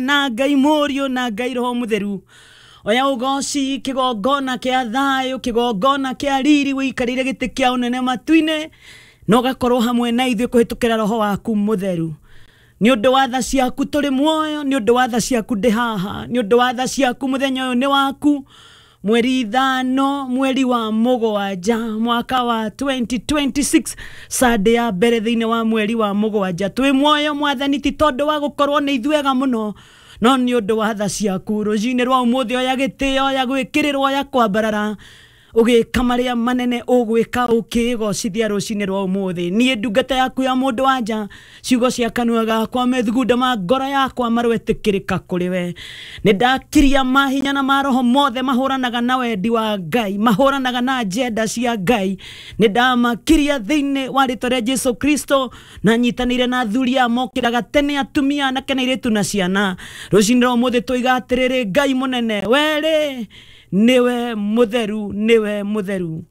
Na Ngai Mũriũ na Ngai Roho Mũtheru, oya ũgoci, kĩgongona kĩa thayũ, kĩgongona kĩa riri, wĩikarĩire gĩtĩ kĩa ũnene matu-inĩ na ũgakorwo hamwe na ithuĩ kũhĩtũkĩra Roho waku Mũtheru. Nĩ ũndũ wa tha ciaku tũrĩ muoyo, nĩ ũndũ wa tha ciaku ndĩ haha, nĩ ũndũ wa tha ciaku mũthenya ũyũ nĩ waku, mweri 5 mweri wa mũgwanja mwaka wa 2026, Sunday ya mbere thĩinĩ wa mweri wa mũgwanja. Twĩ muoyo, Mwathani, ti tondũ wa gũkorwo nĩ ithuega mũno, no nĩ ũndũ wa tha ciaku. Rũcinĩ rwa ũmũthĩ, oya gĩtĩo, oya gwĩkĩrĩrwo, oya kwambarara, ũgĩka marĩa manene ũgwĩka, ũkĩgocithia rũcinĩ rwa ũmũthĩ. Niĩ ndungata yaku ya mũndũ wanja, ciugo cia kanua gakwa, methugunda ma ngoro yakwa marwetĩkĩrĩka kũrĩ we. Nĩ ndakiria mahinya na maroho mothe mahũranaga na wendi wa Ngai, mahũranaga na agenda cia Ngai. Nĩ ndamakiria thĩinĩ wa rĩtwa rĩa Jesu Kristo, na nyitanĩire na athuri aya mokĩraga tene, atumia, anake na airĩtu na ciana. Rũcinĩ rwa ũmũthĩ tũiga atĩrĩrĩ, Ngai mũnene, werĩ nĩwe mũtheru, nĩwe mũtheru.